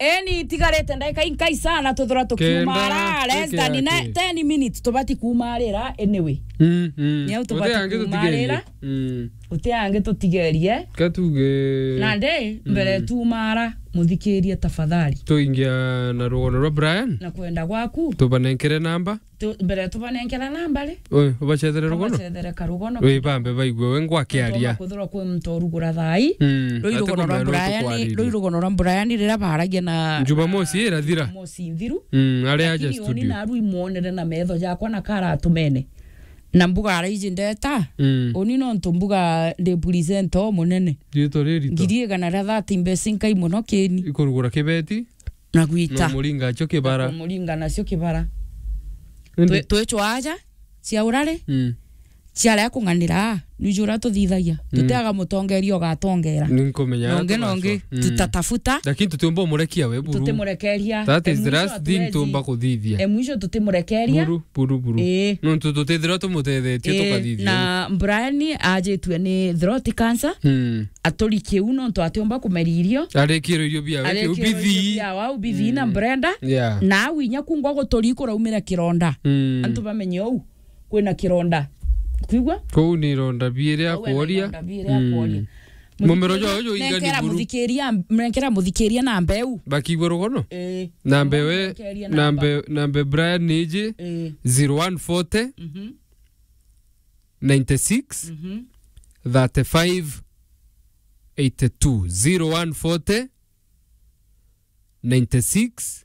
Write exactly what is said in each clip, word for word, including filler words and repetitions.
Eni, itigarite ndagika inkai sana tuthura tukiumara, less than ten minutes tubati kuumarira anyway. Mm, mm. Niau tubati kuumarira. Mm. Uti angi tutigerie. Katuge. Nandi, mbere tuumara, muthikirie tafadhali. Tuingia na rugono rwa Brian. Na kwenda gwaku. Tubanenkere namba. Tu-, mbere tubanenkera namba ri? Oi, ubacethere rugono? Ubacethere karugono. Wi bambe baigue we ngwa kiaria. Kuthura kwi muntu urugura thai. Mm, rui rugono rwa Brian, rui rugono rwa Brian riria baragia na Jumamosi irathira. Jumamosi nthiru. Mm, ari aja studio. Lakini uni na rui mwonere na metho jakwa na kara atumene. Na mbuga araiji ndeta. Mm. Uni nontu mbuga ndi presenter o munene. Riitwa riritu. Ngiri igana ria thirty mbeca inkai muno kini. Ikurugura kibeti. Na gwita. Na muringa acio kibara. Na kumuringa nacio kibara. Indi twi-, twicwa aja, cia urari, mm, ciaria kung'anira, nwiji uria tuthithagia. Mm. Tutiaga mutongeria ugatongera. Ninkumenya. Nongi, nongi, mm, tutatafuta. Lakini tutiumba umurekia we buru. Tutimurekeria. That is the last thing tuumba kuthithia. E mwisho tutimurekeria. Buru, buru, buru. Ii. Nontu tutithirwa tumutethetie, ii, tukathithia. Na Brian ajitue ni throat cancer. Mm. Aturikie u nontu atiumba kumeria irio. Arikirwe irio biawe, kiu bithi. Arikirwe irio biawe, au bithi na Brenda. Yeah. Na au inya kungwa guturi kuraumira kironda. Mm. Antu bamenye uu kwina kironda. Kwigua? Kuu ni ironda biiri. Au ena akworia. Ironda biiri akworia. Mm. Mumero jwa uju ingani nenkera buru. Muthikiria, nenkera muthikiria na mbeu. Bakigwe rugono? Eh. Na mbewe, nekeria na namba. Mbe-, na mbe Brian ni iji, eh, zero one forty, mhm, ninety six, mhm, thirty five, eighty two. Zero one forty, ninety six,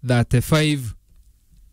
thirty five,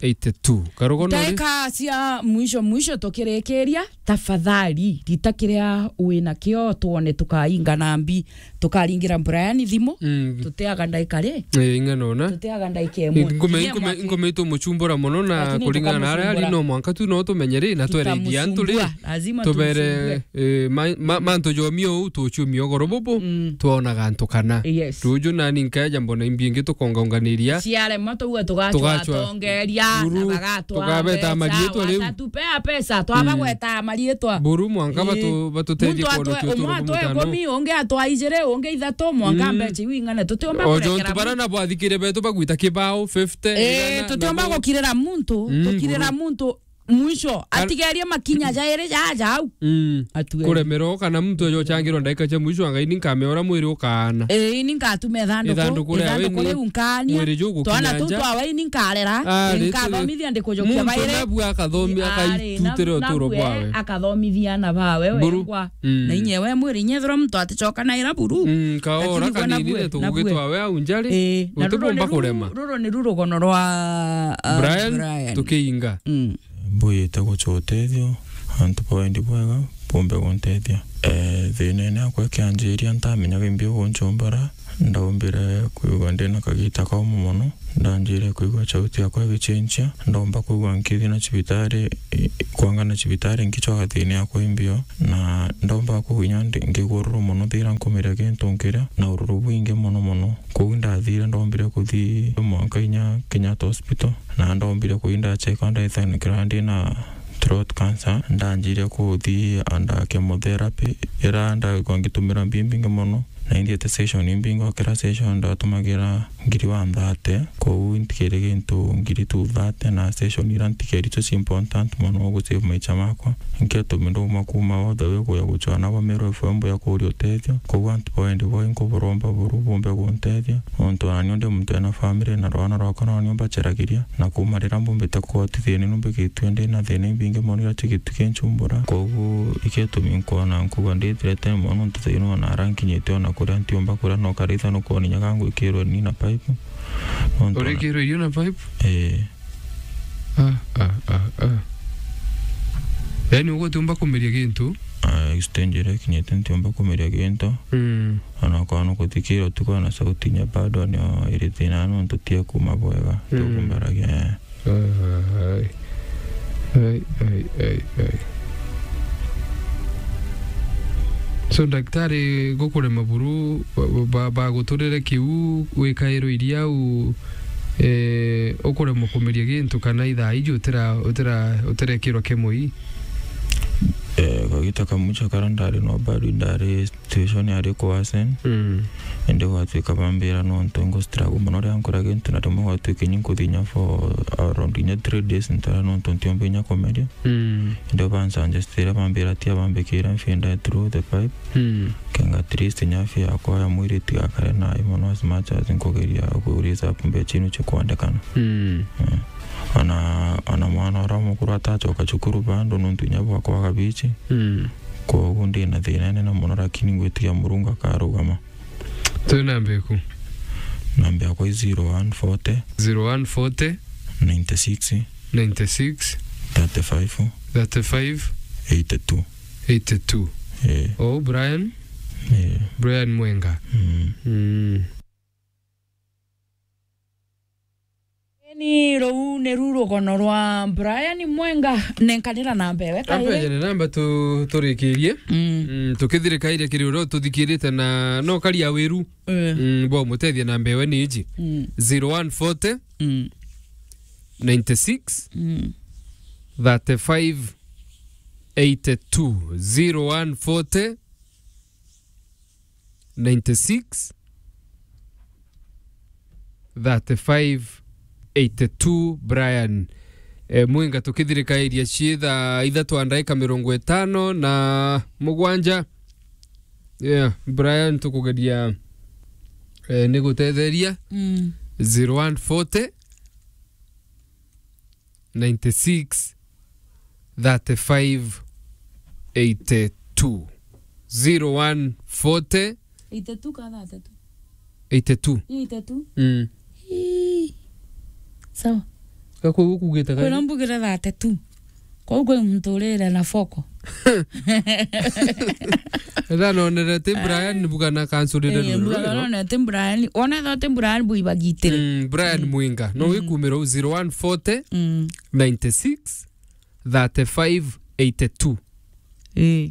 eighty two. Karugono ri? Ndagika cia mwisho mwisho tukirikiria, tafadhali, rita kiria wina kio twone tukainga na mbi. Tukaringira Brian thimu, mm, tutiaga ndaika ri? Eh, ing'ana ona. Tutiaga ndaika imwe. Inkume-, inkume-, inkume itumuchumbura mono na. Lakini kuringana na aria ari, tutamuchumbura. No mwanka tu no tumenye ri, na twerithia antu ri. Tutamuchumbua. Lazima tumuchumbue. Tubere, eh, ma-, ma-, mantu jomio uu tuchumio goro bubu, mm, twonaga antu kana. Yes. Ruju nani nkaeja mbona imbi ingi tukongaunganiria. Ciarema tuga tugachwa, tugachwa atongeria, tuga-, na bagatwa tugabeta mbeca, marietwa riu. Watatupea pesa, twaba, mm, gweta marietwa. Buru mwanka, ii, batu-, batutethie. Muntu atwe, umwe atwe ikumi, ungi atwa ijiri, ungi ithatu, mwanka, mm, mbeca iu ing'ane. Tutiumba kurekera muntu. Ojo ntu bara na bwathikire betu bagwita kibao fifty, eh, igana, tutiumba na bo-, gukirira muntu, mm, tukirira muntu mwisho, ar- atigerie makinya jairi jaja au. Mm. Atue. Kuremerwo kana muntu ajo changirwo ndaika cia mwisho, anga ini nkameora mwiri ukaana. Eh, ini ngatuma ithanduku, ithanduku ria ithanduku weni, riu nkanie. Mwiri ju gukinya nja. Twana tu twawe ini nkarera, ah, nkathomithia ndikujukia bairi. Muntu nabu akathomi-, ah, akaitutire uturo bwawe. Akathomithia ana bawe wengwa. Mm. Na inye we mwiri, inye ethirwa muntu aticoka na ira buru. Mm, kaora. Lakini gwe kanini nabue, nabue. Tugugitwa we au njari. Eh, na ruru ni ru-, ruru ni ru rugono rwa, ah, Brian, Brian. Tukiinga. Mm. Mbuyite guchwa utethio, antu ba wendi bwega, bumbe guntethia. Eh, thinene akwa kianjiria ntamenyaga imbi ugunchumbura, ndaumbire kwigua ndina kagita kaumu mono, ndanjire kwigua chauti yakwa igichinchia, ndaumba kwigua nkithi na cibitari, i-, kwanga na cibitari nkichwa gathini yakwa imbio, na ndaumba kwigua inya ndi-, ngigua ururu mono thira nkumiria gintu nkiria, na ururu bwingi mono mono. Kuu ndathire, ndombire kuthi mwanka inya Kenyatta Hospital, na ndombire kuthi ndachekwa ndaithanikira ndina throat cancer. Ndanjire kuthi under chemotherapy, ira ndaigua ngitumira mbi mbingi mono, na inthiete session imbingi, o kira session ndatumagira ngiri one thirty, kou ntikire gintu ngiri two thirty, na session ira ntikeri icio ci important mono gusave maicha makwa. Nkio tumi nduma kuma all the way kuya guchwa nabo Meru F M ya kuria utethio. Kou antu ba wendi bwai nkuburomba buru bumbe guntethia. Nontu nani ndi muntu ena family na rwana rwakwa nani mbacheragiria. Na kuma riria mbumbite kuhotithia ni numbikitue ndi na thina imbingi mono iria cigitu kinchumbura. Koguo ikio tumi nkwona nkuga ndithirete mono nontu thaino ona ara nkinyite ona kuria ntiumba kuria no karitha nukwona inya gangwikirwe ni na pipe. Nontu ona urikirwe irio na pipe? Ee. Ah, ah, ah, ah. Yaani, ugutiumba kumiria gintu? Ah, stage iria ikinyite ntiumba kumiria gintu. Mm. Ona kwona kuthikira utuku na sauti inya bado ni iri thina nontu tie kuma bwega. Mm. Tukumbaragia, eh. Ai, ai, ai, ai. So, daktari gukurema buru, ba-, ba-, baguturire kiu, wikairwo iria u, eh, ukuremwo kumeria gintu kana ithaa iji utira-, utira-, utirekirwa kemoi? Eh, Gita kamucha kara ndari no bado ndari situation yari kuwasen. Mm. Ende gwatuika bambira nontu ngu struggle mono ria nkora gintu na rimwe gwatuika ni nkuthinya for around inya three days ntara nontu ntiomba inya kumeria. Mm. Ende bansanjestira bambira tia bambikira mfinda through the pipe. Mm. Kenga at least nyafi yakwa ya mwiri tigakare nayo mono as much as nkugeria ku raise up mbecha inu chikwandikana. Mm. Eh. Ona, ona mwana uria mukuru atachoka cukuru bado nontu inya bwakwa gabichi. Mm. Koguo ndi na thina nene mono lakini ngwitikia Murungu akarugama. Twi namba iku? Namba yakwa i zero one forty. Zero one forty. Ninety six. Ninety six. Thirty five. Thirty five. Eighty two. Eighty two. Eh. Oh, Brian? Eh. Brian Mwenga. Mm. Mm. Ni ruu ni ru rugono rwa Brian Mwenga, nenkanira namba ewe kairi. Ampe jene namba tu-, turikirie. Mm. Mm, tukithirikairia kiri uria ututhikirite na no karia wiru. Eh. Mm, bo mutethia namba ewe ni iji. Mm. Zero one forty, Mm. ninety six, Mm. thirty five, eighty two. Zero one forty, ninety six, thirty five, eighty two, Brian. Eh, Mwinga tukithirikairia cii thaa ithatu a ndaika mirongo itano na mugwanja. Yeah, Brian tukugeria, eh, ni gutetheria. Mm. Zero one forty, ninety six, thirty five, eighty two. Zero one forty. Eighty two ka thirty two? Eighty two. Eighty two? Mm. Ii. Sawa. Ka kwou ukugite kairi? Kwina mbugire thirty two. Kwou kwi muntu urire na foko. Ethira nonere ti Brian, mbuga na kansurire. Eh, ruru mbuga rwiro. Nonere ti Brian. Wona ethira ti Brian, bwibagitire. Mm, Brian Mm. Mwinga. No Mm. wikumira u zero one forty, Mm. ninety six, thirty five, eighty two. Eh.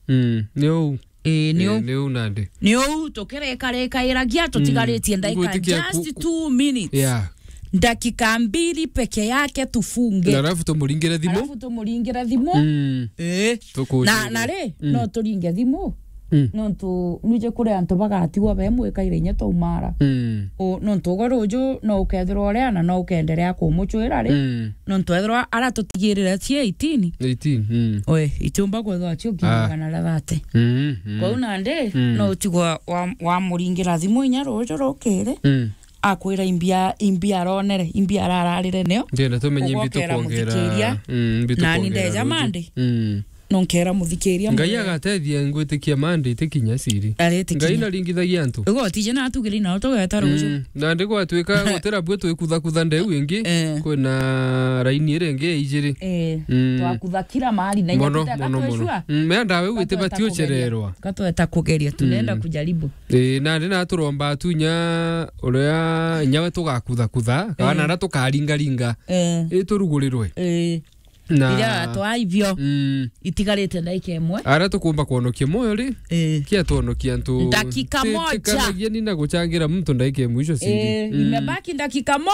Mm, ni uu. Eh, ni Eh, uu. Ni uu nandi. Ni uu, tukirikarikia, tutigaritie Mm. ndaika Ngwitikia just ku-, ku-, two minutes. Yeah. Ndakika mbili peke yake tufunge. Na alafu tumuringire thimu. Alafu tumuringire thimu. Mm. Eh. Tukujuria. Na, na ri, Mm. no turinge thimu. Mm. Nontu nwije kuri antu bagatigwa be mwikaire inya twaumara. Mm. O, nontu ugo ruju no ukethirwa uria na no ukenderea kumuchwira ri. Mm. Nontu ethirwa ara tutigirire cie eighteen. Eighteen, mm. Oe, itiumba kwethirwa cio Ah. kiri magana aria thirty. Mm, mm. Kwou nandi, Mm. no utigwa wa, wamuringira thimu inya ruju rukiri. Mm. Akwira imbia, imbia aronere, imbia arararire nio. Ndienda tumenye imbi Ugokera tukwongera. Muthikiria. Mm, imbi Nani tukwongera ndeja ruju. Mandi. Mm. Nonkera muthikiria Ngai mwe. Agatethia ngwitikia Mandi itikinya ciri. Aritikinya. Ngai naringithagia antu. Igo tije na atugire na utogeta ruju. Mm, nandi gwatuika gutira bwe twikuthakutha ndeu ingi. Eh. Kwina raini iri ingi ya ijiri. Eh, Mm. twakutha kila mahali na inya Mono, tuteka mono, mono. Tweshua. Mm, mea ndawe wite Katweta bati kugeria. Uchererwa. Katweta kugeria, tunaenda Mm. kujaribu. Eh, nandi na turomba tu inya uria inya we tugakuthakutha, kana Eh. na tukaringaringa. Eh. Iturugurirwe. Eh. Na Iria twaibio. Mm. Itigarite ndaika imwe. Ara tukumba kwonokia moyo ri? Eh. Kia twonokia antu. Ndakika Ti-, moja. Tikanagia ni na guchangira muntu ndaika imwe icio ciri. Eh, Mm. imebaki ndakika mo.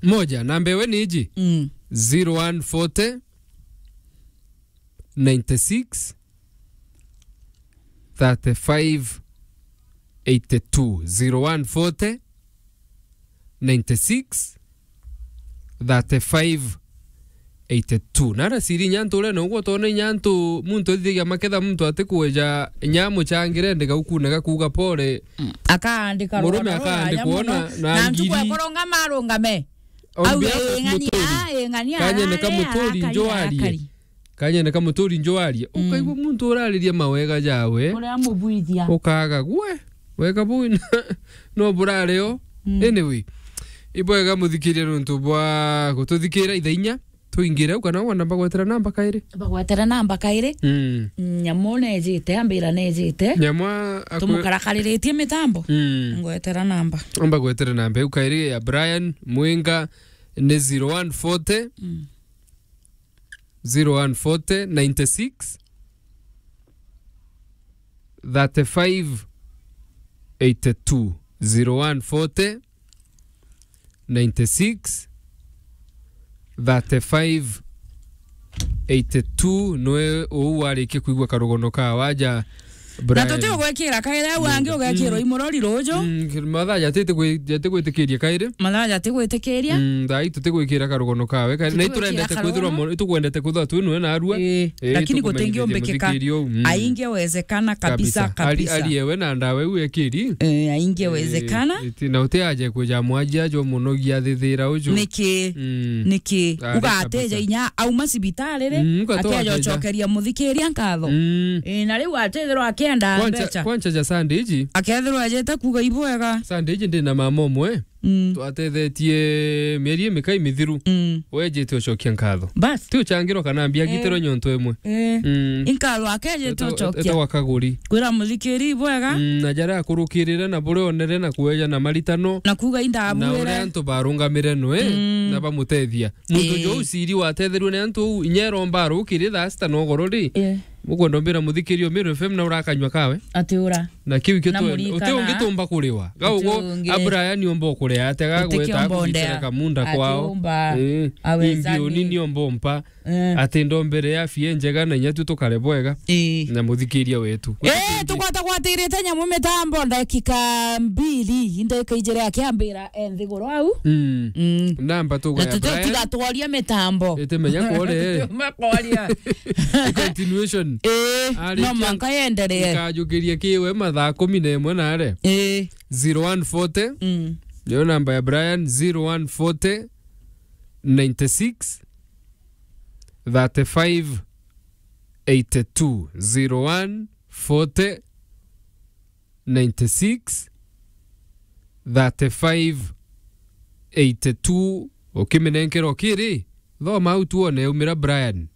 Moja, namba ewe ni iji. Mm. Zero one forty, ninety six, thirty five, eighty two. Zero one forty, ninety six, thirty five, eighty two. Nara ciri inya antu uria noguo utona inya antu muntu ethithagia maketha muntu atikweja inya amuchangire ndega ukune gakuuga pole. Mm. Akaandika Murume rwano akaandikwa ruraya muno, na, na Na ntuku ngiri. Ekurungama arungame. Au Auge, behalf "Ing'ania, Muturi. Ing'ania, Kanyene ka arare, Muturi arakari, njo arie. Arakari." Kanyene ka Muturi njo arie. Mm. Ukaigua muntu urariria mawega jawe. Uria amubwithia. Ukaga, "Gwe, wega buu na, no burare o." Mm. Anyway, ibwega muthikiria nontu bwa gututhikira ithainya. Tuingire au kana wona mbagwetera namba kairi? Bagwetera namba kairi. Mm. Nyamu nejite, ambira nejite. Nyamu a-, akwe- Tumukarakariretie mitambo. Mm. Ngwetera namba. Amba gwetera namba iu kairi ya Brian Mwinga ni zero one forty, Mm. zero one forty, ninety six, thirty five, eighty two. Zero one forty, ninety six, thirty five, eighty-two, nwe uu warikia kuigua karugono ka waja, na Brian. Tuti ugwikira kairi au angi ugekirwa imurori ruju. Mm, mathaa jatiti gwi-, jati gwitikiria kairi. Mathaa jati gwitikiria. Mm, thaa ii tuti gwikira karugono kawe kairi. Na iturendete kwithirwa mo-, itugwendete kwithirwa twi nwe narua. Ii, lakini gutingiumbikika. Aingi wezekana kabisa, kabisa. Ari, ari ewe na ndawa iu ekiri. Eh, aingi wezekana. Iti, na uti aje kuja mwajia jo muno gia thithira uju. Niki? Mm. Niki? Ari kabisa. Ugateja inya auma cibitari ri, mm, akeja ucokeria muthikiria nkatho. Mm. Eh, na riu atethirwa akienda mbeca. Kwancha ja Sunday iji. Akethirwa ajete kuga ibwega. Sunday iji ndi na mama umwe. Mm. Twatethetie mieri imikai mithiru. Mm. Wejite ucokia nkatho. Bas. Ti uchangirwa kana mbia agitirwe nyonto imwe. Eh. Mm. Inkatho akejite ucokia. Etagwa Kaguri. Kwira muthikiri bwega. Mm, na jaria akurukirire na buria onere na kueja na maritano. Na kuga indabwire. Na uria antu barungamire nwe, mm, na bamutethia. Muntu jo uciri watethirwe ni antu uu, inya eromba arukiri thaa sita na ugoro ri. Eh. Mukwenda umbira muthikiri o Meru F M na urakanywa kawe? Ati ura. Na kiu kio na tu-, uti ungi tumba kuriwa. Ga ugo, Brian omba ukuria ate ga gweta kucicera kamunda kwao. Ati umba. Eh, aweza imbioni ni omba umpa. Eh. Ati ndombere ya afya njega na inya tu tukare bwega. Eh. Na muthikiria wetu. Eh, tukwata gwatirite nyamu mitambo ndakika mbiri, ndakika ijiri akiambira e nthiguru au. Mm. Mm. Namba tugaya na tuti Brian. Tiga tworia mitambo. Ite menya kwore. Tume kwaria. Continuation. Eh, no mwanka yendelee. Ikajukiria kiwe mathaa kumi na imwe nare. Eh. Zero one forty. Mm. Niyo namba ya Brian, zero one forty, ninety-six, thirty-five, eighty-two. Zero one forty, ninety-six, thirty-five, eighty-two. Ukiminenkera ukiri, thoma au tuone umira Brian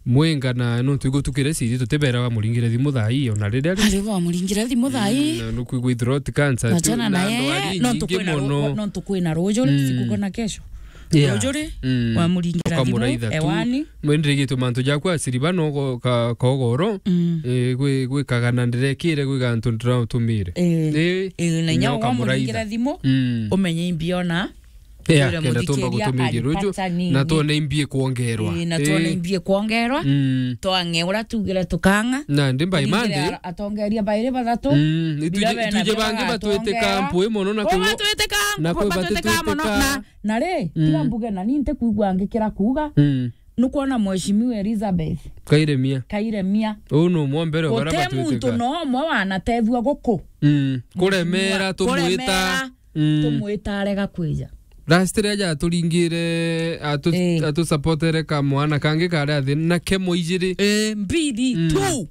Mwinga, na nontu igutukire ciri tutibera wa muringire thimu thaa ii ona riria ri. Ari wa muringire thimu thaa ii. Mm, na nukwigua throat cancer. Na tu, tena na na andu ye, ari nontu nyingi kwina ru-, mono. Nontu kwina ruju ri, mm, siku kona kesho. Yeah. Ruju ri, mm, wa muringira thimu, ukamuraitha tu. Ewani. Mwenderegetwe mantu jakwa asiriba no go-, ka-, kogoro. Mm. Eh, gwi-, gwikaga na ndirekire gwiga antu ndiratumire. Eh. Eh, eh, na inya ukamuraitha. Wamuringira thimu, mm, umenye imbiona. Eh, akenda tumba gutumiria ruju, na twone imbi ikwongerwa. Eh, na twone imbi ikwongerwa. Mm. Twange ura tugire tukanga. Na ndi by Monday. Atongeria bairi bathatu. Mm, ituje, ituje bangi batwiteka mpui mono na kwi batwiteka, na kwi batwiteka mono. Na Na ri, mm, tiga mbuge na ni ntikwigua ngikira kuuga, mm, nukwona Mheshimiwa Elizabeth Kairemia. Kairemia. Uu nu umwe mbere wa baria batwiteka. Guti muntu no umwe wanatethua guku. Mm. Kuremera, tumwita. Kuremera, mm, tumwita arega kwija. Last ria aja aturingire, atu-, eh, atusupportere ka mwana kangi kari athi, na kemo ijiri. Eh, mbiri, mm, two.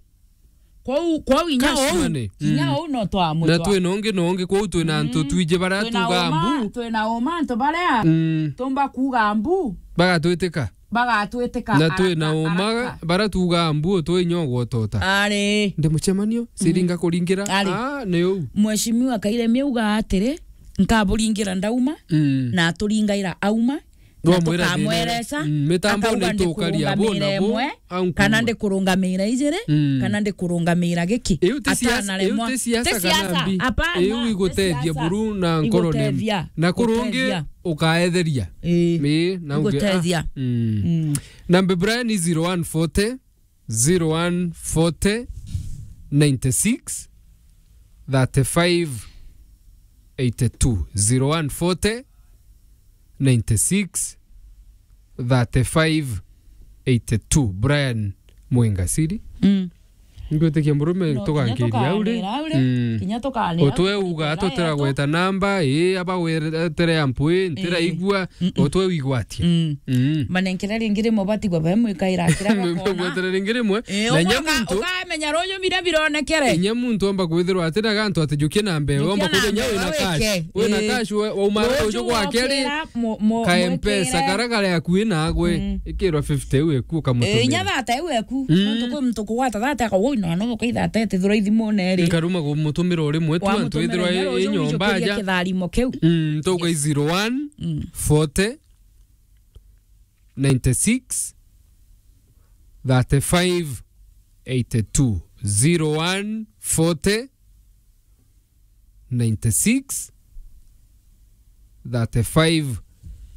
Kwou, kwou inya ou, cash money, inya ou no twamwigua. Na twina ungi na ungi, kwou twina antu twiji baria tugaa mbu. Twina uma antu baria, mm, tumba kuuga mbu. Bagatwitika. Bagatwitika. Na twina uma baria tugaa mbu, utwe inya ugwotota. Ari. Ndi mucemanio, ciringa kuringira. Ari. Ah, ni uu. Mheshimiwa Kairemia auga atiri, nkaburingira ndauma, mm, na aturingaira auma. Na tukamweresa, mm, mitambo akauga ni tukaria ndikurungamira bo nabo, imwe, au kana nkuuma. Ndikurungamira ijiri, mm, kana ndikurungamira giki. Iu ti siasa, atanaremwa. Iu ti siasa, ti siasa kana mbi. Hapana, iu ti igutethia siasa. Buru na nkorone. Igutethia. Na kurungi gutethia. Ukaetheria. Ii. Ii, na uge, igutethia. Ah, mm. Mm. Namba Brian ni zero one forty, zero one forty, ninety-six, thirty-five, eighty-two. Zero one forty, ninety-six, thirty-five, eighty-two. Brian Mwingasiri. Mm. Ngwitikia murume. No, tugankiria au ri. Kinya tukanira au ri. Mm. Kinya tukanira au ri. Utwe uga tutira gweta namba, ii, aba wetere ya mpui, ntira igua, mm-mm, utwe wigwatia. Mm. Mm. Manenkere ringi rimwe batigwa be mwikaira kira bakona. Mwikwatere ringi rimwe. Eh, na inya uka-, muntu ukamenya ruju mira bironekere. Inya muntu amba kwithirwa ati na gantu ati jukie na mbee, amba kwithirwa nya wina cash. Wina cash, we, wauma ruju gwake ri, ka M-Pesa kara kari akui nagwe. Mm. Ikirwa fifty iu eku ukamutumira. Eh, inya thirty iu eku. Mm. Nontu kwi muntu kugwata thirty akauga, "Ui, no, no, ukaithata ithirwa ithimune ri." Nkaruma kumutumira o rimwe tu, antu ithirwa i nyomba aja. Kithari mo kiu. Mm, tuga i zero one, mm, forty, ninety-six, thirty-five, eighty-two. Zero one forty, ninety-six, thirty-five,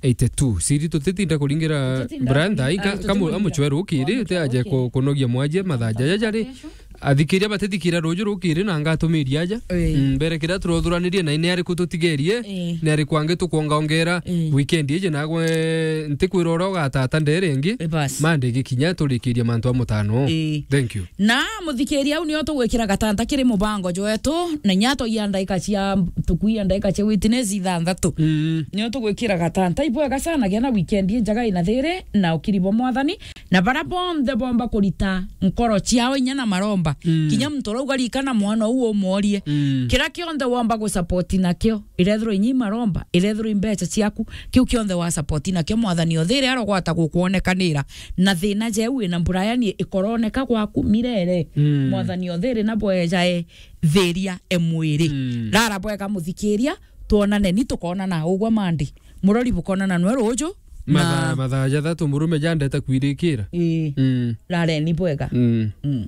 eighty-two. Siri tutitinda kuringira Tutitinda Brian kuringira, thai, ah, ka-, kamu-, tutimuringira. Amuchwe rukiri, Amuchwe te aje rukiri. Ku-, kunogia mwaje, mathaja jaja ri. Kesho. Athikiria batithikira ruju rukiri na ngatumiria aja. Ii. Mm, mbere kiria turothuranirie na ni ariku tutigerie, Ii. ni ariku angi tukwongaongera Ii. weekend iji nagwe ntikwira uria ugatata ndere ingi. Ii, bas. Mande gikinya turikiria mantu a mutano. Ii. Thank you. Na muthikiria, au nio tugwikira gatanta kiri mubango jwetu, na inya twaia ndaika cia, tukuia ndaika cia witness ithanthatu. Mm. Nio tugwikira gatanta. Ibwega sana, gia na weekend injega ina thiri na ukiri bwa Mwathani, na bara bonthe bomba kurita nkoro ciao inya na maromba. Mm. Kinya muntu urauga rikana mwana uu umworie. Mm. Kira kionthe womba gusupport nakio, irethirwa inya i maromba, irethirwa i mbeca ciaku, kiu kionthe wa support nakio, Mwathani o thiri arogwata gukwonekanira. Na thina jeu wina Brian ikoroneka gwaku mirere. Mm. Mwathani o thiri na bwejae thiria e mwiri. Mm. Rara bwega muthikiria, twonane ni tukonana ugwa Monday. Murori bukonana nwe ruju. Mathaa, na mathaa jathatu murume jandete kwirikira. Ii. Mm. Rareni bwega. Mm. Mm.